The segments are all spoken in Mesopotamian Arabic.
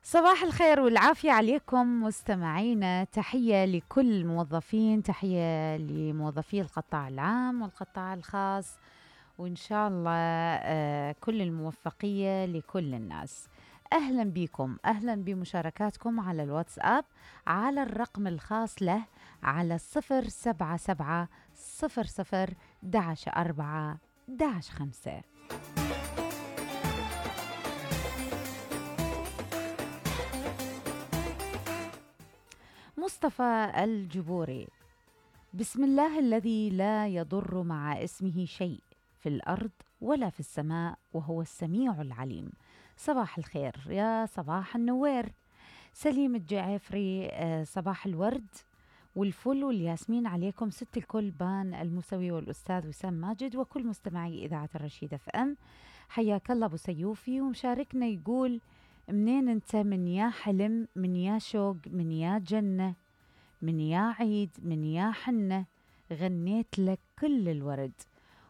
صباح الخير والعافية عليكم مستمعينا. تحية لكل الموظفين، تحية لموظفي القطاع العام والقطاع الخاص، وإن شاء الله كل الموفقية لكل الناس. أهلا بكم، أهلا بمشاركاتكم على الواتساب على الرقم الخاص له على 077-00-11-4-11-5. مصطفى الجبوري: بسم الله الذي لا يضر مع اسمه شيء في الأرض ولا في السماء وهو السميع العليم. صباح الخير يا صباح النوير. سليم الجعفري: صباح الورد والفل والياسمين عليكم ست الكل، بان الموسوي والأستاذ وسام ماجد وكل مستمعي إذاعة الرشيد اف ام. حياك الله أبو سيوفي. ومشاركنا يقول: منين انت؟ من يا حلم، من يا شوق، من يا جنة، من يا عيد، من يا حنة، غنيت لك كل الورد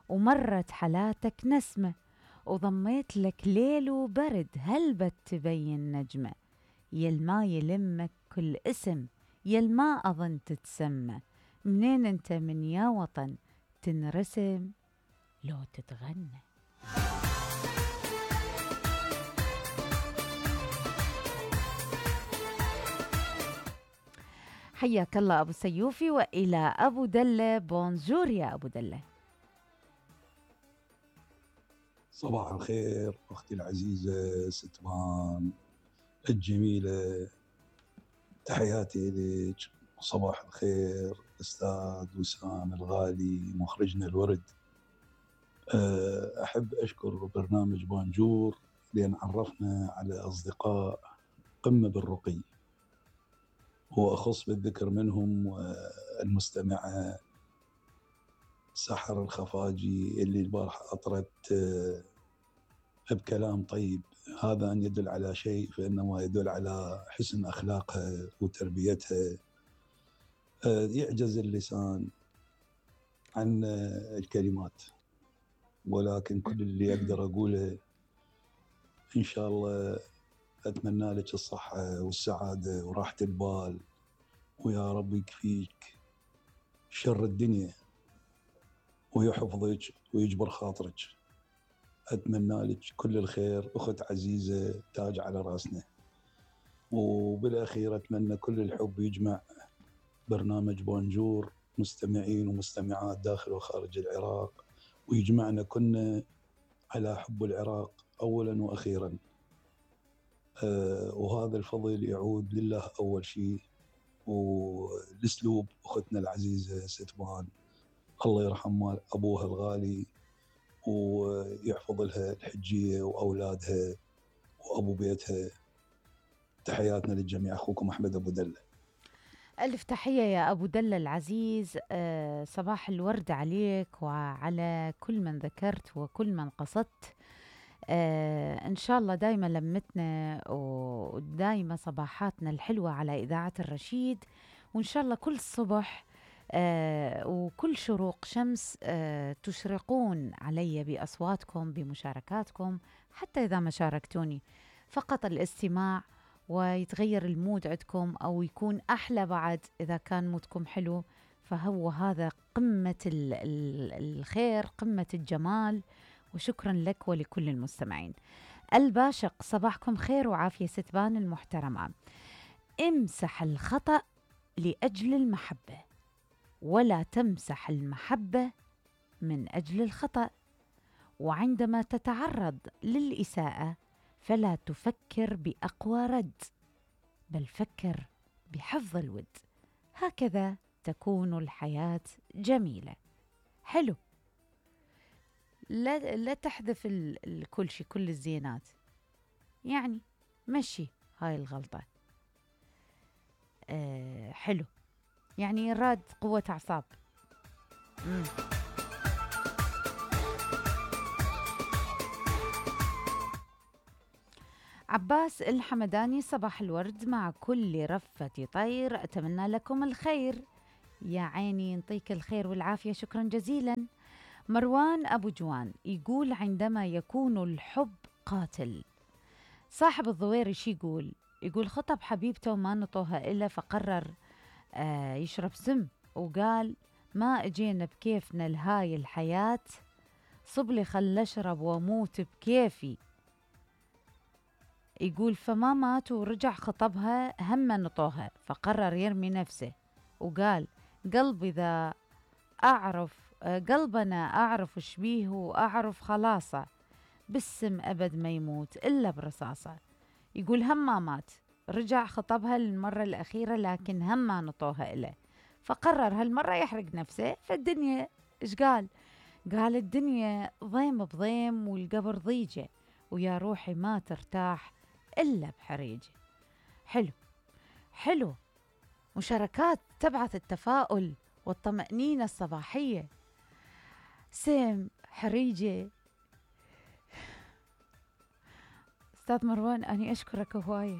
ومرت حالاتك نسمة وضميت لك ليل وبرد، هل بتبين نجمة يلما يلمك كل اسم يلما أظن تتسمى. منين انت؟ من يا وطن تنرسم لو تتغنى. حياك الله أبو سيوفي. وإلى أبو دلة: بونجور يا أبو دلة. صباح الخير أختي العزيزة ستمان الجميلة، تحياتي لك. صباح الخير أستاذ وسام الغالي مخرجنا الورد. أحب أشكر برنامج بونجور لأن عرفنا على أصدقاء قمة بالرقي، وأخص بالذكر منهم المستمعة سحر الخفاجي اللي البارحة أطرت بكلام طيب. هذا أن يدل على شيء فإنما يدل على حسن أخلاقها وتربيتها. يعجز اللسان عن الكلمات، ولكن كل اللي أقدر أقوله إن شاء الله أتمنى لك الصحة والسعادة وراحة البال، ويا رب يكفيك شر الدنيا ويحفظك ويجبر خاطرك. أتمنى لك كل الخير أخت عزيزة، تاج على رأسنا. وبالأخير أتمنى كل الحب يجمع برنامج بونجور مستمعين ومستمعات داخل وخارج العراق، ويجمعنا كنا على حب العراق أولا وأخيرا. وهذا الفضل يعود لله أول شيء، والأسلوب أختنا العزيزة ستمان الله يرحم أبوها الغالي ويحفظ لها الحجية وأولادها وأبو بيتها. تحياتنا للجميع. أخوكم أحمد أبو دلة. ألف تحية يا أبو دلة العزيز. صباح الورد عليك وعلى كل من ذكرت وكل من قصدت. إن شاء الله دايما لمتنا ودايما صباحاتنا الحلوة على إذاعة الرشيد، وإن شاء الله كل صبح وكل شروق شمس تشرقون علي بأصواتكم بمشاركاتكم، حتى إذا ما شاركتوني فقط الاستماع ويتغير المود عندكم أو يكون أحلى بعد إذا كان مودكم حلو، فهو هذا قمة الخير، قمة الجمال. وشكرا لك ولكل المستمعين. الباشق: صباحكم خير وعافية ستبان المحترمة. امسح الخطأ لأجل المحبة ولا تمسح المحبة من أجل الخطأ، وعندما تتعرض للإساءة فلا تفكر بأقوى رد بل فكر بحفظ الود، هكذا تكون الحياة جميلة. حلو، لا تحذف كل شيء، كل الزينات، يعني مشي هاي الغلطة. حلو، يعني راد قوة أعصاب. عباس الحمداني: صباح الورد مع كل رفة طير، أتمنى لكم الخير. يا عيني ينطيك الخير والعافية، شكرا جزيلا. مروان أبو جوان يقول: عندما يكون الحب قاتل. صاحب الضويري شي يقول؟ يقول خطب حبيبته وما نطوها إلا، فقرر يشرب سم، وقال ما اجينا بكيفنا لهاي الحياة، صبلي خل اشرب واموت بكيفي. يقول فما مات ورجع خطبها، هم نطوها، فقرر يرمي نفسه وقال قلبي ذا أعرف قلبنا أعرف شبيه وأعرف خلاصة، بالسم أبد ما يموت إلا برصاصة. يقول هم ما مات، رجع خطبها للمرة الأخيرة لكن هم ما نطوها إله، فقرر هالمرة يحرق نفسه. فالدنيا إيش قال؟ قال الدنيا ضيم بضيم والقبر ضيجة، ويا روحي ما ترتاح إلا بحريجة. حلو حلو، مشاركات تبعث التفاؤل والطمأنينة الصباحية. سم، حريجة. أستاذ مروان أني أشكرك هواية.